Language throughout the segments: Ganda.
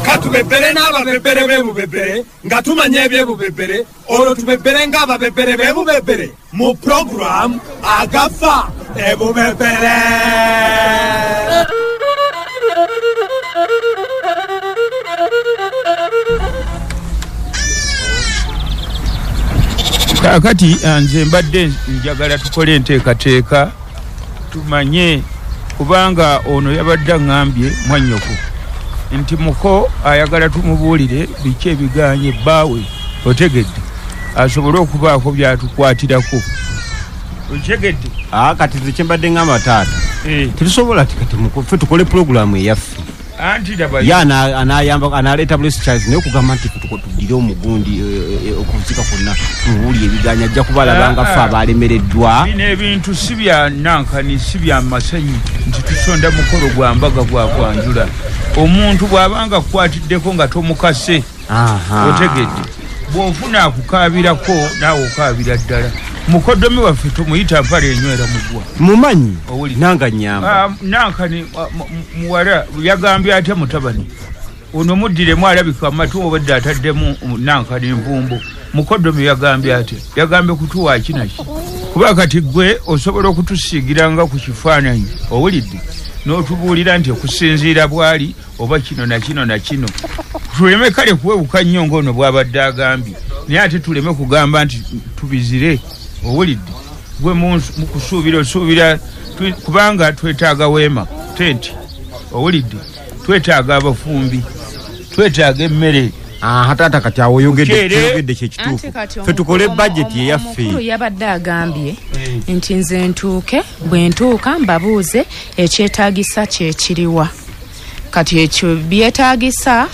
Katubebere n'ababebere b'ebubebere nga tumanya ebyebubebere, olwo tubebere ng'ababebere b'ebubebere mu puroguramu Agafa Ebubebere. Kaakati nze mbadde njagala tukole enteekateeka tumanye, kubanga ono yabadde aŋŋambye mwannyoko nti muko ayagala tumubuulire biki ebiganye bbaawe, otegedde, asobole okubaako by'atukwatirako. Otegedde? Kati nze kye mbadde ŋŋamba taata, tetusobola ti kati ffe tukole pulogulaamu eyaffe. Anti laba ye anayamba analeeta Bless Charles, naye okugamba nti tuddire omugundi okuzika kwonna tumubuulire ebiganya, ajja kubalaba nga ffe abalemereddwa. Bino ebintu si bya nankani, si bya masanyu nti tusonda mukolo gwa mbaga gwa kwanjula. Omuntu bw'abanga akukwatiddeko nga tomukase, otegedde, bw'ofuna akukaabirako naawe okaabira ddala. Mukoddomi waffe tumuyita mpale enywera mugwa. Mumanyi nanga nnyamba. Nankani muwala yagambye atya mutabani ono muddiremu alabika amatu obadde ataddemu nankani envumbo. Mukoddomi yagambye atya? Yagambye kutuwa ki naki? Kuba kati ggwe osobola okutusiigiranga ku kifaananyi, owulidde, n'otubuulira nti okusinziira bw'ali oba kino na kino na kino. Tuleme kale kuwewuka nnyo ng'ono bw'abadde agambye, naye ate tuleme kugamba nti tubizire, owulidde. Gwe mu kusuubira osuubira, kubanga twetaaga weema, tenti, owulidde, twetaaga abafumbi, twetaaga emmere. Taata kati awo oyogedde kye kituufu. Ffe tukole bajeti eyaffe. Omukulu yabadde agambye nti nze ntuuke, bwe ntuuka mbabuuze ekyetaagisa kye kiriwa. Kati ekyo byetaagisa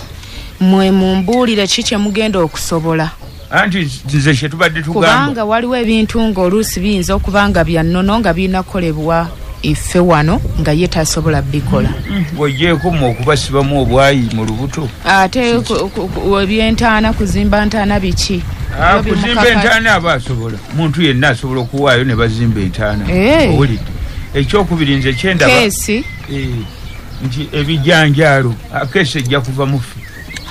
mwe mumbuulire ki kye mugenda okusobola. Anti nze kye tubadde tugamba. Kubanga waliwo ebintu ng'oluusi biyinza okuba nga bya nnono nga birina kukolebwa iffe wano nga ye tasobola bikola. Bw'ogyeko mu okubasibamu obwayi mu lubuto. Ate eby'entaana, kuzimba ntaana biki? Kuzimba entaana aba asobola. Muntu yenna asobola okuwaayo ne bazimba entaana. Owulidde. Ekyokubiri nze kyendaba. Keesi. Nti ebijanjaalo, keesi ejja kuva mu ffe.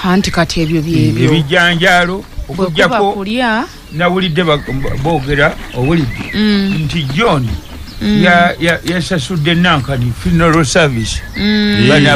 Anti kati ebyo byebyo. Ebijanjaalo okuggyako nawulidde boogera, owulidde, nti John yasasudde nankani funeral service. Bano